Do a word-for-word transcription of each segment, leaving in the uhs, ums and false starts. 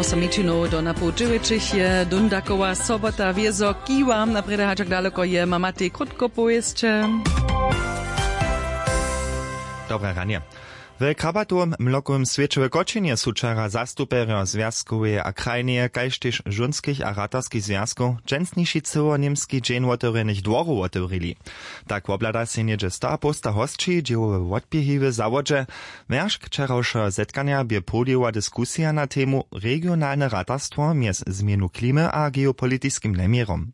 Somičinow do napołdźěłećich je dundakowa sobota wězo kiwa naprjedy hačak daleko je mamatej krótko powěsće. Dobre ranje. W krabatowym mlokowym swěće w kočinje su wčera zastupjerjo zwjazkoweje a krajneje kaž tež žónskich a ratarskich zwjazkow dźensniši cyłoněmski dźeń wotewrjenych dworow wotewrili. Tak wobhlada sej něhdźe stoapołsta hosći dźěłowe wotběhi w zawodźe. Wjeršk wčerawšeho zetkanja bě połdźěła diskusija na temu regionalne ratarstwo mjez změnu klimy a geopolitiskim njeměrom.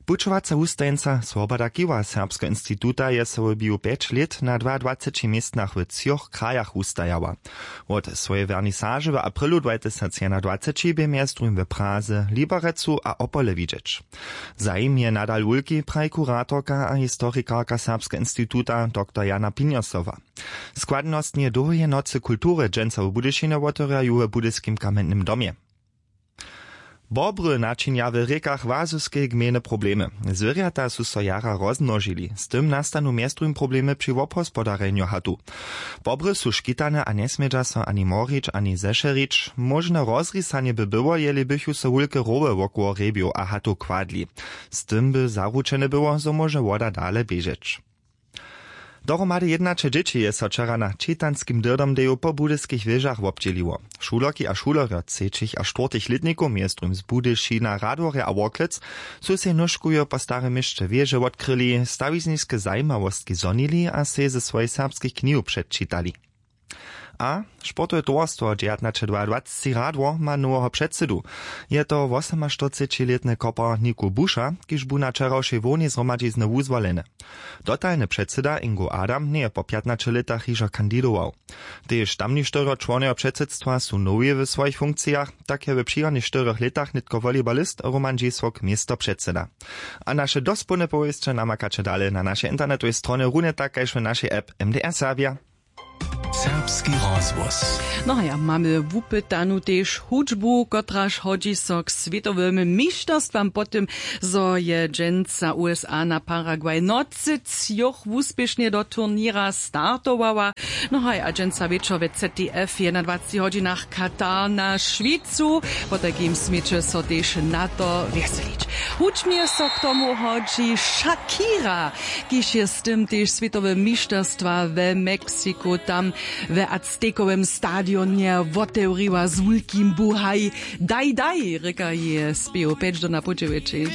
Pućowaca wustajeńca swoboda kiwa serbskeho instituta je so w biju pjeć lět na dwaadwaceći městnach w třoch krajach wustajała. Wot swojej wernisaže w aprylu dwatysacjedwajceći bě mjez druhim w praze liberecu a opole widźeć. Zajim je nadal wulki, praji kuratorka a historikarka serbskeho instituta dr jana pinjosowa. Składnostnje dołheje nocy kultury dźensa w budyšinje wotewrja ju w budyskim kamjennym domje. Bobry načinja w rěkach łazyskej gmejne problemy. Zwěrjata su so jara rozmnožili, z tym nastanu mjez druhim problemy při wobhospodarjenju hatu. Bobry su škitane a njesmědźa so ani morić ani zešerić. Móžne rozrisanje by było jeli bychu so wulke rowy wokoło hrjebjow a hatow kładli. Z tym by zaručene było zo móže woda dale běžeć. Dohromady jědnaće dźěći je so wčera na čitanskim dyrdomdeju po budyskich wěžach wobdźěliło. Šulerki a šulerjo třećich a štwórtych lětnikow mjez druhim z budyšina radworja a worklec su sej nóžkujo po starym měsće wěže wotkryli stawizniske zajimawostki zhonili a sej ze swojich serbskich knihow předčitali. A sportowe towarstwo dźewjatnaće dwaadwaceći radwor ma noweho předsydu. Je to wosomaštyrcećilětny kopar niku buša, kiž bu na wčerawšej hłownej zhromadźizny wuzwoleny. Dotalny předsyda ingo adam njeje po pjatnaće lětach hižo kandidował. Tež tamništyrjo čłonojo předsydstwa su nowi w swojich funkcijach. Tak je w přichodnych štyrjoch lětach nětko wolibalist roman dźisok město předsyda. A naše dospołne powěsće namakaće dale na našej internetowej stronje runje tak kaž w našej app mdr serbja. Serbski rozhłos. No a ja mamy wupytanu tež hudźbu kotraž hodźi so k swětowym mišterstwam po tym zo je dźensa usa na paragwaj nocy třoch wuspěšnje do turněra startowała. No haj a dźensa wječor we z t f w jedynadwaceći hodźinach katar na šwicu. Potajkim směće so tež na to wjeselić. Hudźbnje so k tomu hodźi shakira, kiž je z tym tež swětowe mišterstwa we meksiku tam we aztekowym stadionje wotewriła z wulkim buhaj. Daj daj rěka je spěw pjeć do na podźěłeći.